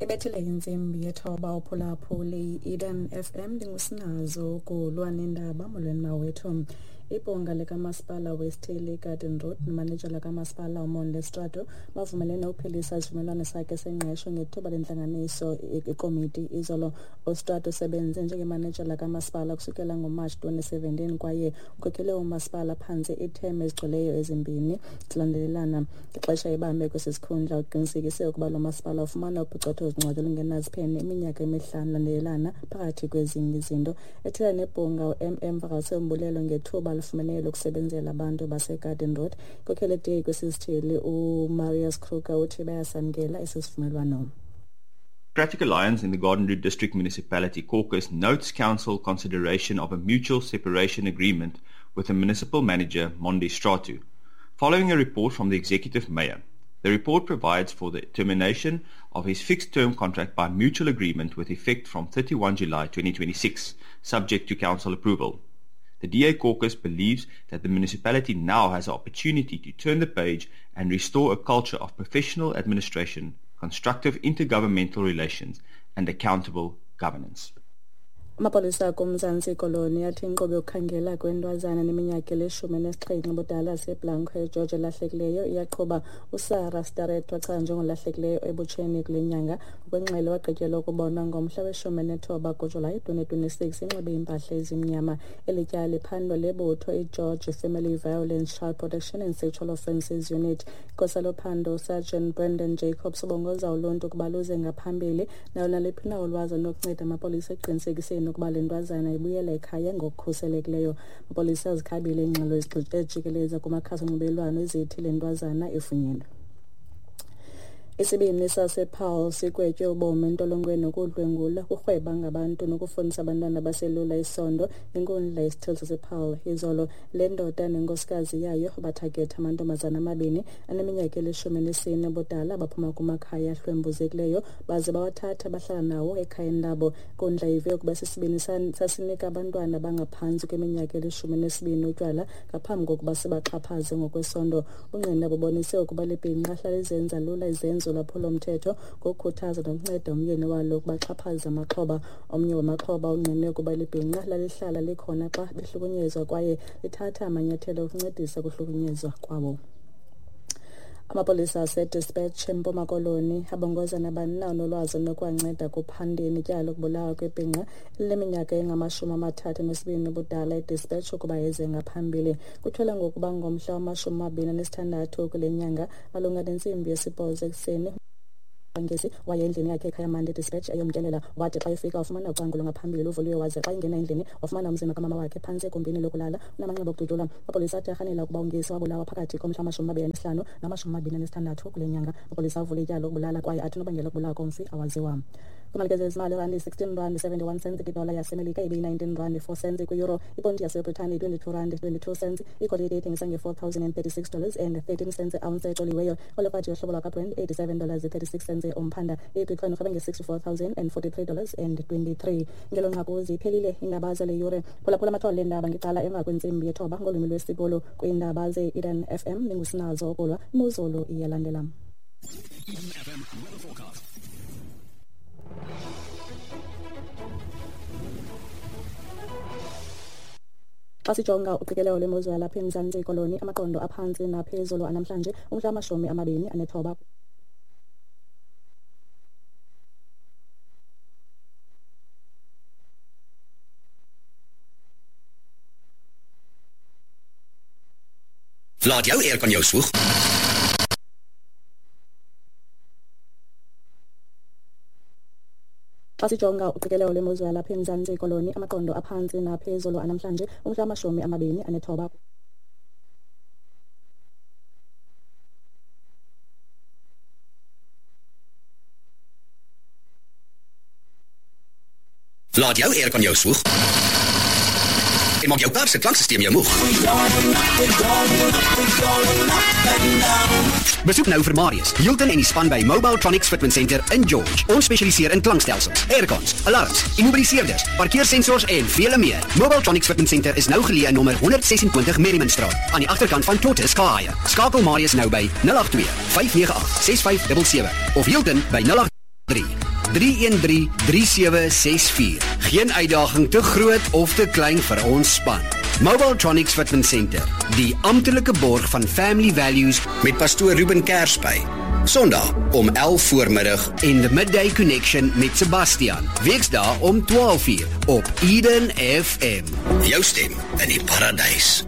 Ibethile intsimbi yethoba uphulaphuli Eden FM, ndingusinazo kulwa nendaba. Molweni mawethu. Ibhunga likamasipala wesithili iGarden Road nomanejala kamasipala uMonde Strato bavumelene ukuphelisa isivumelwano sakhe sengqesho ngethuba lentlanganiso ikomiti izolo. UStrato usebenze njengemanejala kamasipala kusukela ngoMatshi 2017 kwaye ukhokhele umasipala phantse iithemu ezigcweleyo ezimbini zilandelelana. Ngexesha ebambe kwesi sikhundla uqinisekise ukuba lo masipala ufumana uphicotho zincwadi olungenaziphene iminyaka emihlanu landelelana phakathi kwezinye izinto. Ethetha nebhunga u-MM vakalise umbulelo ngethuba alifumeneyo lokusebenzela abantu baseGarden Road. Inkokheli DA kwesi sithili uMarius Kruger uthi bayasamkela esi sivumelwano. Democratic Alliance in the Garden Route District Municipality Caucus notes Council consideration of a mutual separation agreement with the municipal manager, Mondi Stratu, following a report from the executive mayor. The report provides for the termination of his fixed-term contract by mutual agreement with effect from 31 July 2026, subject to council approval. The DA caucus believes that the municipality now has an opportunity to turn the page and restore a culture of professional administration, constructive intergovernmental relations, and accountable governance. Amapolisa akumzantsi Koloni athi inkqubo yokukhangela kwentwazana neminyaka eli-17 ubudala yaseBlanco eGeorge elahlekileyo iyaqhuba. USarah Starrett wachaza njengolahlekileyo ebutsheni kule nyanga. Ngokwengxelo wagqityelwa ukubonwa ngomhla we-19 kuJulayi 2026 inxibe iimpahla ezimnyama. Eli tyala liphandwa lebutho iGeorge Family Violence, Child Protection and Sexual Offences Unit. Igosa lophando uSergeant Brendan Jacobs ubongoza uluntu ukuba luze ngaphambili nayo naliphi na ulwazi olunokunceda amapolisa ekuqinisekiseni ukuba le ntwazana ibuyela ekhaya ngokukhuselekileyo. Amapolisa azikhabile iingxelo ezijikeleza kumakhasi onxibelelwano ezithi le ntwazana ifunyenwe. Isibini sasePaarl sigwetywe ubomi entolongweni ukudlwengula, ukurhweba ngabantu nokufundisa abantwana abaselula isondo inkundla yesithili sasePaarl izolo. Le ndoda nenkosikazi yayo bathagetha amantombazana amabini aneminyaka eli-14 ubudala abaphuma kumakhaya ahlwempuzekileyo baze bawathatha bahlala nawo ekhayeni labo. Inkundla ive ukuba sisibini sasinika abantwana abangaphantsi kweminyaka eli-12 utywala ngaphambi kokuba sibaxhaphaze ngokwesondo. Ungqina bubonise ukuba libhinqa lalizenza lula izenzo lwaphulo-mthetho ngokukhuthaza nokunceda umyeni walo ukuba axhaphaze amaxhoba. Omnye wamaxhoba ungqine ukuba libhinqa lalihlala likhona xa behlukunyezwa kwaye lithatha amanyathelo okuncedisa ukuhlukunyezwa kwabo. Amapolisa aseDispatch eMpuma Koloni abongoza nabani na onolwazi olunokuwanceda kuphandeni ityala lokubulawa kwebhinqa elineminyaka engama-32 ubudala eDispatch ukuba eze ngaphambili. Kutyholwa ngokuba ngomhla wama-26 kule nyanga malunga nentsimbi yesibhozo ekuseni Ngesi waye endlini yakhe ekhaya Mande Dispatch eyomtyelela. Wathi xa efika wafumana ucango lwangaphambili luvuliwe, waze xa ingena endlini wafumana umzimba kamama wakhe phantsi egumbini lokulala unamanxeba okudutyulwa. Amapolisa athi arhanela ukuba uNgesi wabulawa phakathi komhla wama-25 nama-26 kule nyanga. Amapolisa avule ityala lokubulala kwaye athi unobangela wokubulawa komfi awaziwa. Kwimalike zezimali, irandi 16 rand 71 cents kwidola yaseMelika, ibeyi-19 rand 4 cents kwi-euro, iponti yaseBritane 22 rand 22 cents, igolide ithengisa nge-$4,036 dollars and 13 cents ounce ecoliweyo, olekwathi yohlobo lwakwaBrent 87 dollars 36 cents umphanda, ibitcoin urhweba nge-$64,043 dollars and 23. Ngelo nqaku ziphelile iindaba zale yure. Phulaphula amathole leendaba ngecala emva kwentsimbi yethoba ngolwimi lwesiBhulu kwiindaba ze-Eden FM. Ndingusinazo okulwa imozulu iyalandela. Eden FM weather forecast. Xa sijonga uqikelelo lwemozulu yalapha eMzantsi Koloni, amaqondo aphantsi naphezulu anamhlanje umhla wama-29. Laat jou aircon jou swoeg. Xa sijonga uqikelelo lwemozulu yalapha eMzantsi Koloni, amaqondo aphantsi naphezulu anamhlanje umhla wama-29. Laat jou aircon jou swoeg. En maak jou kar se klanksysteem jou moeg. Besoek nou vir Marius, Hilton en die span by Mobiletronics Fitment Center in George. Ons spesialiseer in klankstelsels, aircons, alarms, immobiliseerders, parkeersensors en vele meer. Mobiletronics Fitment Center is nou geleë in nommer 126 Merrimanstraat, aan die agterkant van Tortoise Car Hire. Skakel Marius nou by 082 598 6577 of Hilton by 083 313 3764. Geen uitdaging te groot of te klein vir ons span. Mobiletronics Fitment Center, die amptelike borg van Family Values met pastoor Ruben Kersby. Sondag om 11 voormiddag en The Midday Connection met Sebastian. Weksdae om 12:00 op Eden FM. Jou stem in die paradys.